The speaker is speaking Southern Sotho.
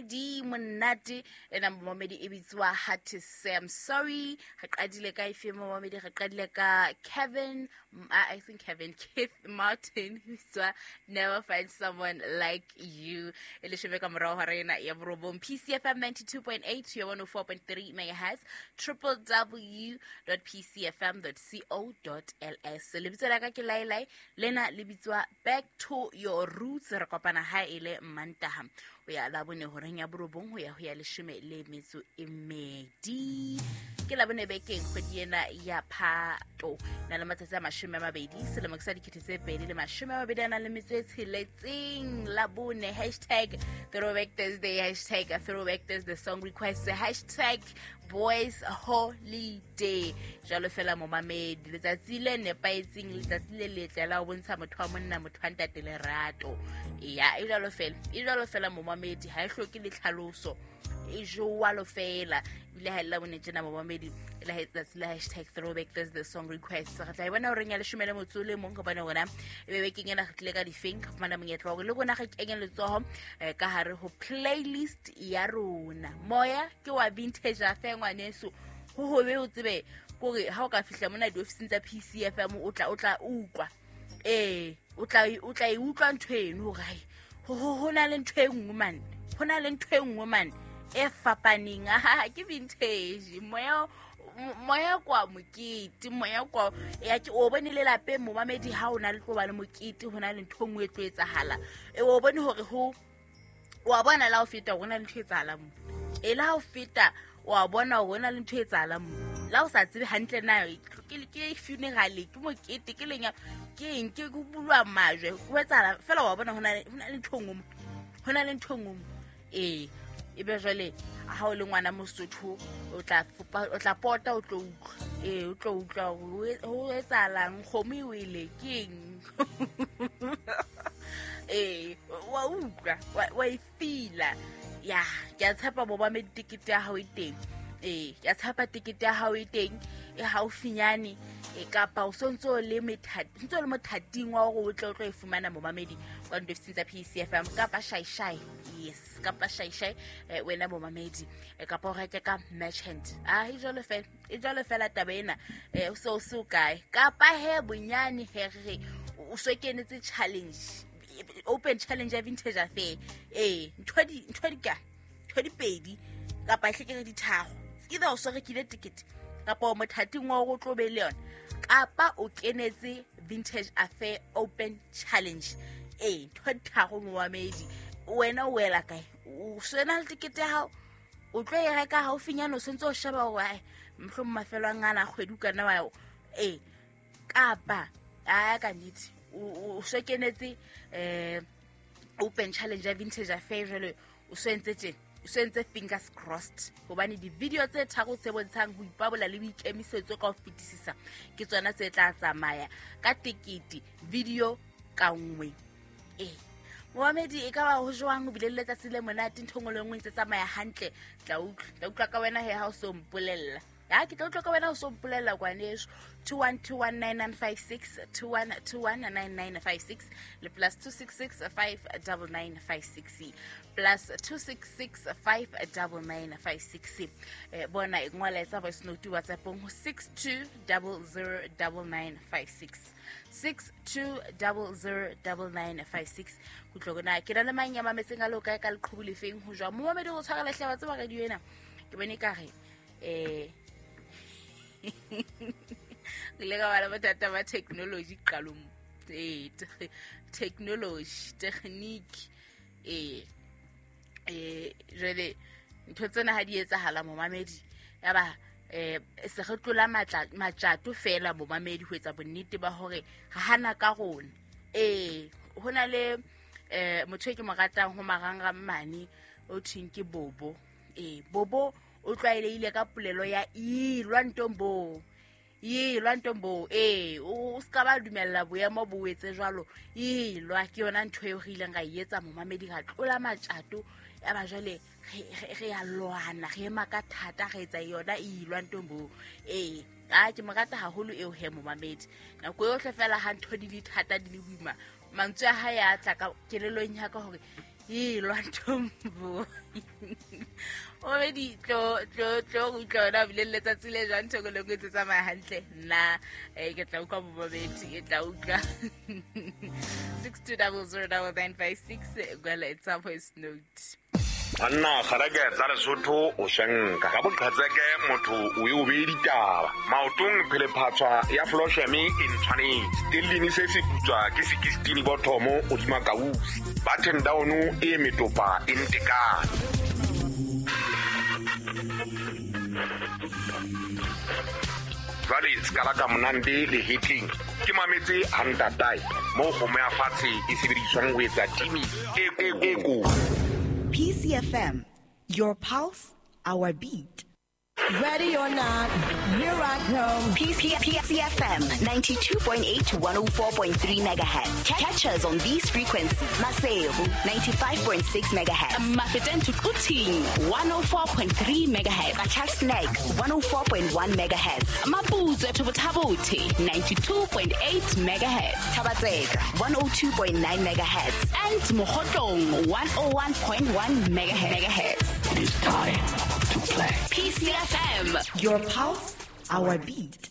Di monate ena momamedi e bitswa Hard to Say I'm Sorry. Re qadile ka efe momamedi? Re qadile ka Kevin, I think Kevin Keith Martin, bitswa Never Find Someone Like You. E leshome ka morao hora ena ya borobong. PCFM 92.8 to 104.3 megahertz, www.pcfm.co.ls. Lebitso la ka ke Lailai, lena le bitswa Back to Your Roots. Re kopana ha e le Mantaha ho ya Labone horeng ya borobong ho ya ho ya leshome le metso e mmedi. Ke Labone bekeng kgwedi ena ya Phato, na le matsatsi a 20, selemo ke sa 2020 a nang le metso e tsheletseng. Labone, hashtag Throwback Thursday, hashtag Throwback Thursday song request, hashtag boys holiday. Jalo fela momamedi, letsatsi le nepahetseng, letsatsi le letle la ho bontsha motho wa monna, motho wa ntate lerato. Ya, e jalo fela, e jalo fela momamedi, ha e hloke le tlhaloso, e jwalo fela. Ebile ha e le Labone tjena momamedi, e la letsatsi la hashtag Throwback Thursday song request. Re tla e bona horeng ya leshome le motso o le mong, gobane rona e be bekeng ena re tlile ka difeng, re fumana monyetla wa hore le rona re kenye letsoho ka hare ho playlist ya rona. Moya ke wa vintage affair ngwaneso, ho hobe o tsebe kore ha o ka fihla mona diofising tsa PCFM o tla utlwa, ee, o tla e utlwa ntho eno hore hai, ho na le ntho e nngwe mane, ho na le ntho e nngwe mane e fapaneng. Aha, ke vintage moya, moya kwa mokete, moya kwa ya ke o bone le lapeng momamedi. Ha o na le tlo ba le mokete, ho na le ntho e nngwe e tlo etsahala, e o bone hore ho wa bona la ho feta hore ho na le ntho e etsahalang mo, e la ho feta wa bona hore ho na le ntho e etsahalang mo, la o sa tsebe hantle na ke funeral, ke mokete, ke lenya, ke eng, ke ho bulwa majwe, ho etsahala fela, wa bona ho na le ntho e nngwe mo, ho na le ntho e nngwe mo. Ee, ebe jwale ha o le ngwana Mosotho, o tla pota, o tlo utlwa, ee, o tlo utlwa hore ho etsahalang, kgomo e wele, ke eng. Ee, wa utlwa, wa e fila. Ya, ke a tshepa momamedi tekete ya hao e teng. Ee, ke a tshepa tekete ya hao e teng, e haufinyane, e kapa o sontso o le ntso le mothating wa hore o tle o tlo e fumana momamedi kwa diofising tsa PCFM kapa shaishai. Yes, kapa shaishai, wena momamedi, kapa o reke ka merchant. Ah, e jwalo fela, e jwalo fela taba ena. O se o se o kae, kapa he bonyane he re o so kenetse challenge, open challenge ya vintage affair. Ee, ntho di ka ntho di pedi kapa e hlekere ditharo, either o so rekile ticket kapa o mothating wa hore o tlo be le yona, kapa o kenetse vintage affair open challenge. Ee, ntho di tharo momamedi, wena o wela kae? O sena le ticket ya hao, o tlo e reka haufinyane, o sentse o sheba hore ai mohlomong mafelo a ngana kgwedi o kana wa. Ee, kapa a ka nnete o so kenetse open challenge ya vintage affair, jwale o so entse tjena, o so entse fingers crossed, hobane di-video tse tharo tse bontshang ho ipabola le boikemisetso ka ho fetisisa ke tsona tse tla tsamaya ka tekete video ka nngwe. Ee momamedi, e ka ba ho jwang o bile le letsatsi le monate, ntho nngwe le nngwe ntse tsamaya hantle? Tla utlwa ka wena he ha o so mpolella. Ya, ke tla utlwa ka wena o so mpolella kwaneso. 21219956, 21219956 le plus 266 59956, plus 266 59956. Bona e ngola, etsa voice note WhatsAppong ho 62009956, 62009956. Kutlwa na ke na le mang ya mametseng a le kae ka leqhubu lefeng ho jwang momamedi go tshwara lehleba tseba radio ena? Ke bone ka re re ile ka ba le bothata ba technology qalong. Ee, technology, technique. Ee, jwale ntho tsena ha di etsahala momamedi, ya ba se re tlola matjato fela momamedi ho etsa bonnete ba hore re hana ka rona. Ee, ho na le motho e ke mo ratang ho marangrang mane o thweng ke Bobo. Ee, Bobo o tlwaelehile ka polelo ya ilwa ntombo, ilwa ntombo. Ee, o se ka ba dumella boemo bo etse jwalo, ilwa. Ke yona ntho eo re ileng ra e etsa momamedi, ra tlola matjato, ya ba jwale re ya lwana, re ema ka thata, re etsa yona ilwa ntombo. Ee, a ke mo rata haholo eo he momamedi. Nako yohle fela ha ntho di le thata, di le boima, mantswe a hae a tla ka kelellong ya ka hore Elwa ntombo obedi tlo tlo tlo go utlwa ona bile letsatsi le jwang thoko le ntse tsamaya hantle nna ke tla utlwa bobabedi ke tla utlwa 62009956 gwela etsa voice note. Banna kgareke tsa Lesotho o shenka ka boqhetseke motho o e o beye ditaba maotong phelephatshwa ya flosheme e ntshwanetse stellini se se putswa ke 16 bothomo odima kausi button down e metopa e ntekane. Jwale se ka la ka monande le hetleng ke mametse hantatae moo kgomo ya fatshe e sebediswang ho etsa timi e ko. PCFM, your pulse, our beat. Ready or not, here I come. PCFM 92.8 to 104.3 megahertz. Catch us on these frequencies. Maseru 95.6 megahertz. Mafeteng to Quthing 104.3 megahertz. Qacha's Nek 104.1 megahertz. Maputswe to Botha-Bothe 92.8 megahertz. Thaba-Tseka 102.9 megahertz. And Mokhotlong 101.1 megahertz. It is time to play. PCFM, your pulse, our beat.